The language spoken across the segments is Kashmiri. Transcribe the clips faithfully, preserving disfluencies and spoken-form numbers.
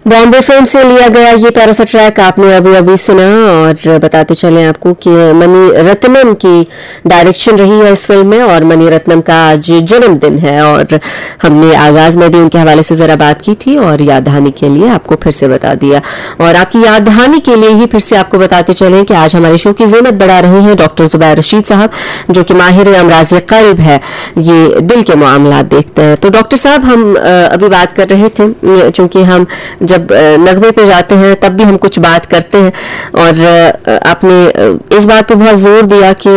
बॉम्बे फिल्म से लिया गया ये प्यारा सा ट्रैक आपने अभी अभी सुना। और बताते चलें आपको कि मणि रत्नम की डायरेक्शन रही है इस फिल्म में और मणि रत्नम का आज जन्मदिन है। और हमने आगाज में भी उनके हवाले से जरा बात की थी और याद दहानी के लिए आपको फिर से बता दिया। और आपकी याद दहानी के लिए ही फिर से आपको बताते चलें कि आज हमारे शो की जीनत बढ़ा रहे हैं डॉक्टर जुबैर रशीद साहब, जो कि माहिर अमराज कल्ब है, ये दिल के मामला देखते हैं। तो डॉक्टर साहब, हम अ, अभी बात कर रहे थे, चूंकि हम जब अ, नगमे पे जाते हैं तब भी हम कुछ बात करते हैं, और अ, आपने अ, इस बात पे बहुत जोर दिया कि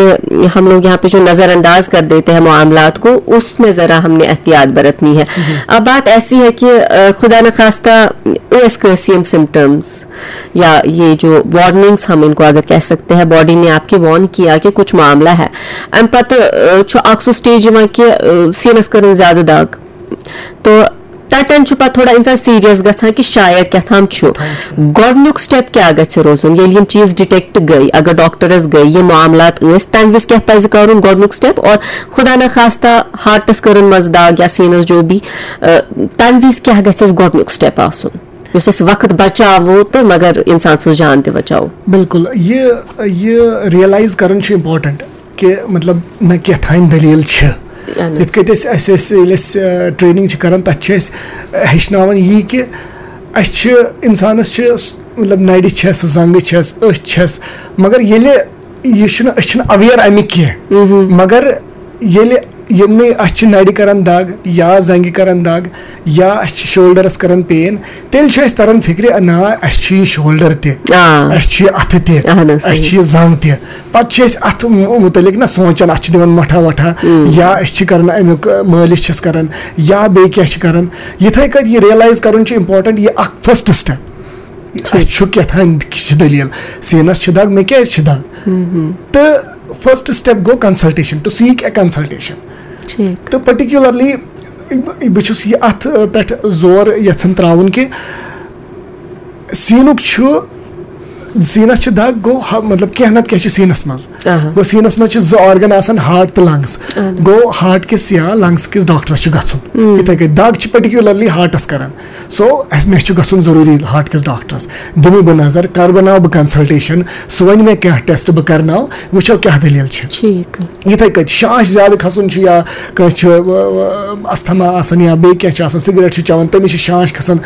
हम लोग यहाँ पे जो नज़रअंदाज कर देते हैं मामलात को, उसमें ज़रा हमने एहतियात बरतनी है। अब बात ऐसी है कि अ, खुदा न खास्ता ٲس کٲنٛسہِ یِم سِمٹمٕز یا یہ جو وارننگز ہم ان کو اگر کہہ سکتے ہیں، باڈی نے آپ کی وارن کیا کہ کچھ معاملہ ہے، امہِ پتہٕ چھُ اکھ سُہ سٹیج یِوان کہ سیٖنس کٔرٕن زیادٕ دگ، تو تتٮ۪ن چھُ پتہٕ تھوڑا انسان سیریس گژھان کہ شاید کیٛاہ تام چھُ۔ گۄڈٕنیُک سٹیپ کیٛاہ گژھِ روزُن ییٚلہِ یِم چیٖز ڈِٹیکٹ گٔے؟ اگر ڈاکٹرس گٔے، یِم معاملات ٲسۍ، تمہِ وِزِ کیٛاہ پزِ کرُن گۄڈٕنیُک سٹیپ؟ اور خدا نخواستہ ہارٹس کٔرٕن منٛز دگ یا سیٖنس جو بھی، تمہِ وِزِ کیٛاہ گژھِ اَسہِ گۄڈٕنیُک سٹیپ آسُن، یُس اَسہِ وقت بچاوو تہٕ مگر انسان سٕنٛز جان تہِ بچاوو؟ بالکل، یہ یہ ریئلائز کرُن چھُ امپورٹنٹ کہ مطلب نہ کیٛاہ تام دٔلیٖل چھِ۔ اہن حظ۔ یِتھ کٔنۍ أسۍ اَسہِ أسۍ ییٚلہِ أسۍ ٹریننگ چھِ کران، تَتہِ چھِ اَسہِ ہیٚچھناوان یی کہ اَسہِ چھِ، انسانس چھِ مطلب نرِ چھس، زنٛگہٕ چھس، أچھ چھس، مگر ییٚلہِ یہِ چھُنہٕ، أسۍ چھِنہٕ اویئر اَمِکۍ کینٛہہ۔ مگر ییٚلہِ یِمنٕے اَسہِ چھِ نرِ کران دگ یا زنٛگہِ کران دگ یا اَسہِ چھِ شولڈرس کران پین، تیٚلہِ چھُ اَسہِ تران فِکرِ، نہ، اَسہِ چھُ یہِ شولڈر تہِ، آ۔ اَسہِ چھُ یہِ اَتھٕ تہِ، اہن حظ، اَسہِ چھُ صحیح۔ یہِ زنٛگ تہِ۔ پتہٕ چھِ أسۍ اَتھ مُ-، مُتعلِق نہ سونٛچان، اَتھ چھِ دِوان مۄٹھا وۄٹھا، یا أسۍ چھِ کران اَمیُک، آ، مٲلِش چھِس کران، یا بیٚیہِ کینٛہہ چھِ کران۔ یِتھَے کٲٹھۍ یہِ ریئلایز کرُن چھُ امپورٹنٹ، یہِ اکھ فرسٹ سٹیپ۔ اَسہِ چھُ کیٛاہ تام چھِ دٔلیٖل، سیٖنَس چھِ دَگ، مےٚ کیٛازِ چھِ دَگ؟ تہٕ فرسٹ سٹیپ گوٚو consultation، to seek a consultation۔ ٹھیٖک۔ تہٕ پٔٹِکیوٗلرلی بہٕ چھُس یہِ اَتھ پٮ۪ٹھ زور یَژھان ترٛاوُن کہِ سیٖنُک چھُ، سیٖنَس چھِ دَگ، گوٚو ہا-، مطلب کینٛہہ نَتہٕ کینٛہہ چھِ سیٖنَس منٛز۔ آہا۔ گوٚو سیٖنَس منٛز چھِ زٕ آرگن آسان، ہارٹ تہٕ لنگس۔ اہن۔ گوٚو ہارٹ کِس یا لنگس کِس ڈاکٹرس چھُ گژھُن۔ یِتھَے کٔنۍ دَگ چھِ پٔٹِکیوٗلرلی ہارٹَس کران۔ سو اَسہِ، مےٚ چھُ گژھُن ضروٗری ہارٹ کِس ڈاکٹرس، دِمہٕ بہٕ نظر، کرٕ بہٕ ناو بہٕ کنسلٹیشن، سُہ وَنہِ مےٚ کینٛہہ ٹیسٹ بہٕ کرناو، وٕچھو کیٛاہ دٔلیٖل چھِ۔ ٹھیٖک۔ یِتھَے کٔنۍ شانٛش زیادٕ کھسُن چھُ یا کٲنٛسہِ چھُ، اَ، اَ، اَستھما آسان یا بیٚیہِ کینٛہہ چھُ آسان، سِگریٹ چھُ چٮ۪وان، تٔمِس چھِ شانٛش کھسان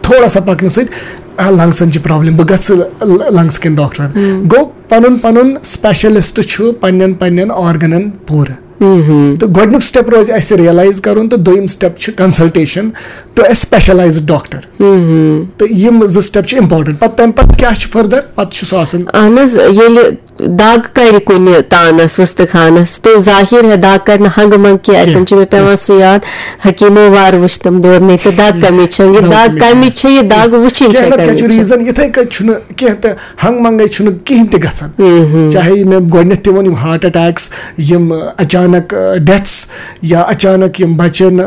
تھوڑا سا پَکنہٕ سۭتۍ، آ، لنگسن چھِ پرابلم، بہٕ گژھٕ ل-، لنگس کٮ۪ن ڈاکٹرن۔ گوٚو پَنُن پَنُن سپیشلسٹ چھُ پننٮ۪ن پننٮ۪ن آرگنن پوٗرٕ۔ تہٕ گۄڈٕنیُک سٹیپ روزِ اَسہِ ریئلایز کرُن، تہٕ دوٚیِم سٹیپ چھِ consultation to a specialized doctor۔ تہٕ یِم زٕ سٹیپ چھِ امپورٹنٹ۔ پتہٕ تَمہِ پتہٕ کیٛاہ چھُ فردر؟ پتہٕ چھُ سُہ آسان اہن حظ، ییٚلہِ دگ کرِ کُنہِ تانس، وُستہٕ خانس، تو ظاہر ہے دگ کرِ نہٕ ہنگہٕ منٛگہٕ کینٛہہ۔ اتٮ۪ن چھُ مےٚ پٮ۪وان سُہ یاد، حکیٖمو وار وٕچھ تِم دورنے تہٕ دگ کمِچ چھم، یہِ دگ کمِچ چھم، یہِ دگ وٕچھِنۍ چھےٚ کینٛہہ نتہٕ کینٛہہ چھُ کمِچ چھم۔ ریٖزن، یِتھَے کٔنۍ چھُنہٕ کینٛہہ تہٕ ہنٛگہٕ منٛگَے چھُنہٕ کِہیٖنۍ تہِ گژھان۔ چاہے مےٚ گۄڈٕنٮ۪تھ تہِ ووٚن، یِم ہارٹ اٹیکس، یِم اچانک ڈیتھس یا اچانک یِم بچن، آ،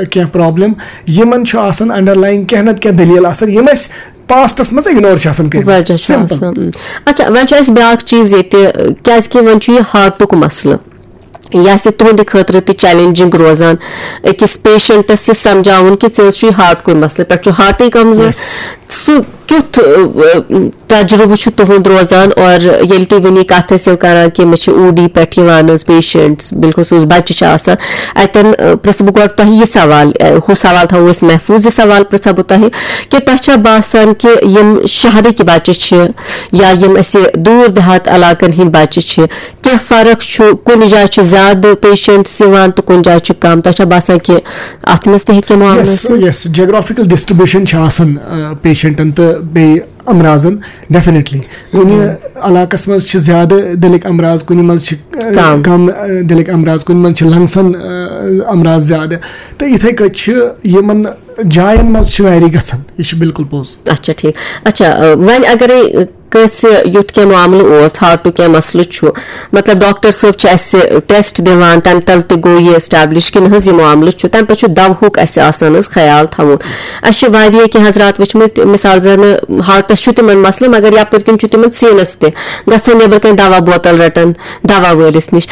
کینٛہہ پرابلم، یِمن چھُ آسان انڈرلایِنگ کینٛہہ نتہٕ کینٛہہ دٔلیٖل آسان، یِم أسۍ پاسٹس منٛز اگنور چھِ آسان کٔرمٕتۍ۔ وجہ چھُ سمپل۔ آسان۔ اچھا، وۄنۍ چھُ اَسہِ بیٛاکھ چیٖز ییٚتہِ، کیٛازِ کہِ وۄنۍ چھُ یہِ ہارٹُک مسلہٕ۔ یہِ آسہِ تُہنٛدِ خٲطرٕ تہِ چیلنجنگ روزان، أکِس پیشنٹس یہِ سمجھاوُن کہِ ژےٚ حظ چھُے ہارٹ کُے مسلہٕ، پٮ۪ٹھ چھُ ہارٹٕے کمزور۔ Yes۔ سُہ کیُتھ، ٲ، ٲ، تجربہٕ چھُ تُہُنٛد روزان؟ اور ییٚلہِ تُہۍ وٕنی کتھ ٲسِو کران کہِ مےٚ چھِ او ڈی پٮ۪ٹھ یِوان حظ پیشنٹس، بالخصوص بچہِ چھِ آسان، اتٮ۪ن، ٲ، پرژھٕ بہٕ گۄڈٕ تۄہہِ یہِ سوال، ٲ، ہُہ سوال تھاوو أسۍ محفوظ، یہِ سوال پرژھٕ ہا بہٕ تۄہہِ کہِ تۄہہِ چھا باسان کہِ یِم شہرٕکۍ بچہِ چھِ یا یِم اسہِ دوٗر دیہات علاقن ہٕنٛدۍ بچہِ چھِ، کینٛہہ فرق چھُ، کُنہِ جایہِ چھُ زیادٕ پیشنٹس یِوان تہٕ کُنہِ جایہِ چھُ کم؟ تۄہہِ چھا باسان کہِ اتھ منٛز تہِ ہیٚکہِ کینٛہہ معاملہٕ یس، ٲسِتھ؟ یس، جیوگرافیکل ڈسٹریبیوشن چھِ آسان، آ، پیشنٹن تہٕ بیٚیہِ امراضن، ڈیفینیٹلی۔ کُنہِ علاقس منٛز چھِ زیادٕ دِلٕکۍ امراض، کُنہِ منٛز چھِ، آ، کم۔ کم، آ، دِلٕکۍ امراض، کُنہِ منٛز چھِ لنگسن، آ، امراض زیادٕ۔ تہٕ یِتھے کٔنۍ چھِ یِمن جاین منٛز چھِ ویری گژھان، یہِ چھُ بالکل پوٚز۔ اچھا، ٹھیٖک۔ اچھا، آ، وۄنۍ اگرے کٲنٛسہِ یُتھ کینٛہہ معاملہٕ اوس، ہارٹُک کینٛہہ مسلہٕ چھُ، مطلب ڈاکٹر صٲب چھِ اَسہِ ٹیسٹ دِوان، تَمہِ تَلہٕ تہِ گوٚو یہِ ایسٹیبلش کہِ نہ حظ یہِ معاملہٕ چھُ، تَمہِ پَتہٕ چھُ دَوہُک اَسہِ آسان حظ خیال تھاوُن۔ اَسہِ چھِ واریاہ کینٛہہ حضرات وٕچھمٕتۍ، مِثال زَن ہارٹَس چھُ تِمَن مسلہٕ، مگر یَپٲرۍ کِنۍ چھُ تِمَن سیٖنَس تہِ گژھان نیٚبرٕ کَنۍ دَوا بوتل رَٹان دَوا وٲلِس نِش۔